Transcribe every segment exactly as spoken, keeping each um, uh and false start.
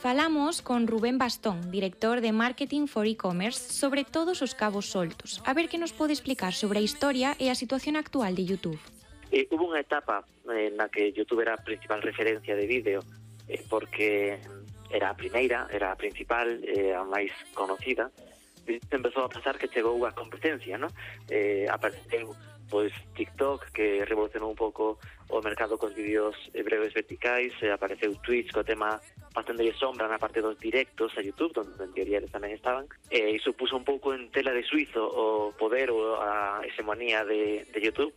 Falamos con Rubén Bastón, director de Marketing for E-Commerce, sobre todos os cabos soltos. A ver que nos pode explicar sobre a historia e a situación actual de YouTube. Eh, hubo unha etapa eh, na que YouTube era a principal referencia de vídeo eh, porque era a primeira, era a principal, eh, a máis conocida. E empezou a pasar que chegou a competencia, ¿no? Eh, apareceu pois TikTok, que revolucionou un pouco o mercado cos vídeos breves verticais, e apareceu Twitch co tema bastante de sombra na parte dos directos a YouTube, onde en teoría eles tamén estaban, e iso puso un pouco en tela de suizo o poder ou a hegemonía de, de YouTube,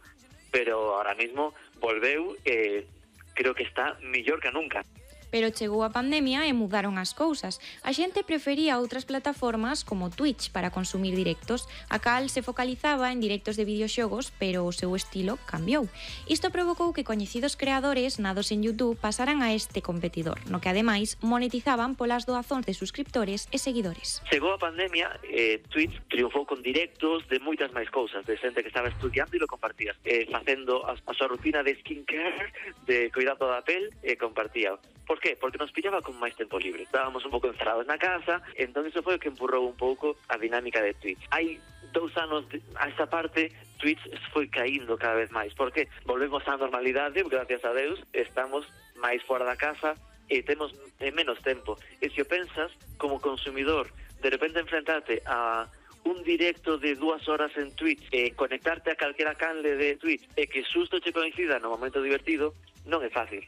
pero ahora mismo volveu e creo que está mellor que nunca. Pero chegou a pandemia e mudaron as cousas. A xente prefería outras plataformas como Twitch para consumir directos. A cal se focalizaba en directos de videoxogos, pero o seu estilo cambiou. Isto provocou que coñecidos creadores nados en YouTube pasaran a este competidor, no que ademais monetizaban polas doazóns de suscriptores e seguidores. Chegou a pandemia, eh, Twitch triunfou con directos de moitas máis cousas, de xente que estaba estudiando e lo compartías, eh, facendo a, a súa rutina de skincare, de cuidado da pel, e compartía. Por qué? Porque nos pillaba con máis tempo libre. Estábamos un pouco encerrados na casa, entón iso foi o que empurrou un pouco a dinámica de Twitch. Hai dous anos de, a esta parte, Twitch foi caíndo cada vez máis. Por qué? Volvemos á normalidade, gracias a Deus, estamos máis fora da casa e temos eh, menos tempo. E se o pensas, como consumidor, de repente enfrentarte a un directo de dúas horas en Twitch e conectarte a calquera canle de Twitch e que susto che coincida no momento divertido, non é fácil.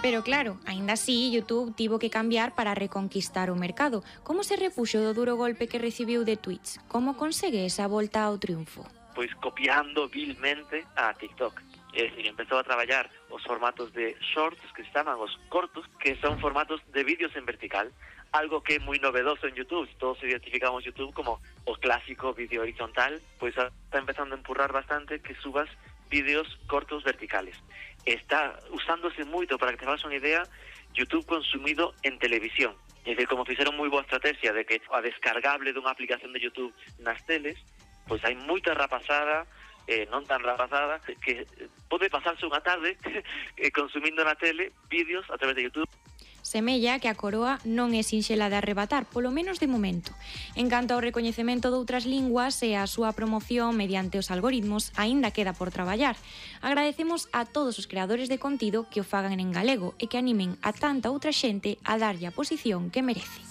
Pero claro, aínda así, YouTube tivo que cambiar para reconquistar o mercado. Como se repuxo do duro golpe que recibiu de Twitch? Como consegue esa volta ao triunfo? Pois copiando vilmente a TikTok. É dicir, empezou a traballar os formatos de shorts, que se chaman os cortos, que son formatos de vídeos en vertical. Algo que é moi novedoso en YouTube. Todos identificamos YouTube como o clásico vídeo horizontal, pois está empezando a empurrar bastante que subas vídeos cortos verticales. Está usándose moito, para que te fagas unha idea, YouTube consumido en televisión. É dicir, como fixeron moi boa estrategia de que a descargable dunha aplicación de YouTube nas teles, pois hai moita rapazada, eh, non tan rapazada, que pode pasarse unha tarde consumindo na tele vídeos a través de YouTube. Semella que a coroa non é sinxela de arrebatar, polo menos de momento. En canto ao recoñecemento doutras linguas e a súa promoción mediante os algoritmos, aínda queda por traballar. Agradecemos a todos os creadores de contido que o fagan en galego e que animen a tanta outra xente a darlle a posición que merece.